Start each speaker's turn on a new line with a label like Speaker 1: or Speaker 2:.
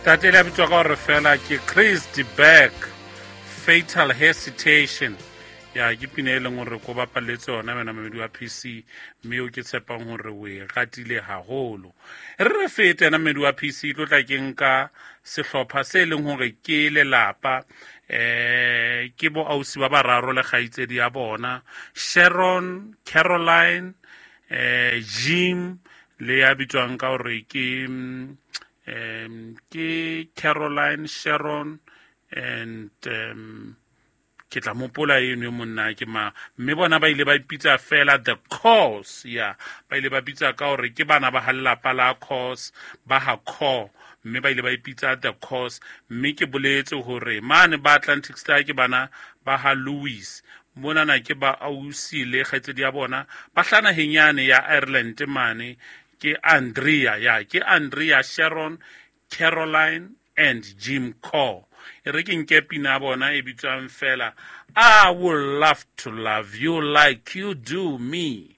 Speaker 1: Tate le a bitswa ka gore fela ke Chris de Burgh, Fatal Hesitation. Ya ke pina e leng gore ko bapaletse yona wena mamedi wa PC, mme o ke tshepang gore o e ratile haholo. Re re fete ena mmedi wa PC, tlo tla ke nka sehlopha se e leng gore ke lelapa, ke bo ausi ba bararo le kgaitsedi ya bona, Sharon, Caroline, Jim le ya bitswang ka gore ke ke Caroline, Sharon and ke tla mopola eno e monna ke ma, mme bona ba ile ba ipitsa fela The Cause. Ya ba ile ba bitsa ka gore ke bana ba ga lelapa la Cause, ba ga Core, mme ba ile ba ipitsa The Cause. Mme ke boletse gore mane ba Atlantic Star ke bana ba ga Louis, monana ke ba ausi le kgaitsedi ya bona ba hlana naheng ya Ireland mane, ke Andrea. Ya ke Andrea, Sharon, Caroline and Jim Core. E re ke nke pina ya bona e bitswang fela I Would Love to Love You Like You Do Me.